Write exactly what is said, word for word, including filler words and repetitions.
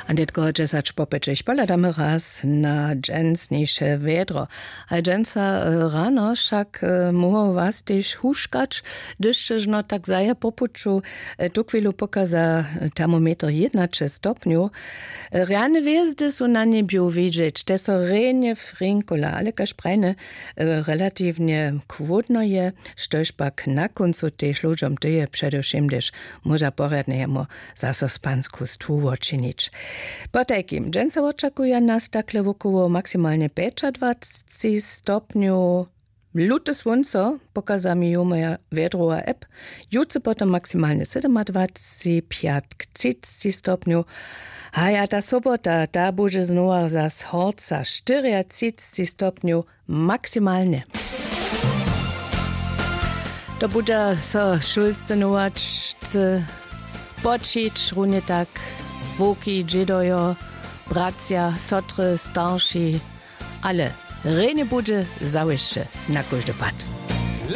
A nětko dźesać po pěćich pohladamy raz na dźensniše wjedro. A dźensa rano wšak móhło was tež huškać, hdyž ćežno tak zaje po puću. Tu chwilu pokaza termometer jědnaće stopnjow. Rjane hwězdy su na njebju widźeć, te so rjenje frinkola, ale kaž prajne, relatiwnje chłódno je. Štož pak na kóncu tež ludźom tyje, předewšěm hdyž móža porjadnje jemu zaso spansku stwu wočinić. Potajkim dźensa wočakuja nas takle wokoło maksimalnje pjećadwacci stopnjow. Lute słónco pokaza mi jumoja wjedrowa app. Jutře potom maksimalnje sydomadwacci, pjatk třicci stopnjow. Haja, ta sobota, ta budźe znowa zas horca, štyriatřicci stopnjow maksimalnje. To budźa so šulsce nowačce poćić runje tak wowki, dźědojo, bratřa, sotry, starši. Ale rjenje budźe zawěsće na kóždy pad.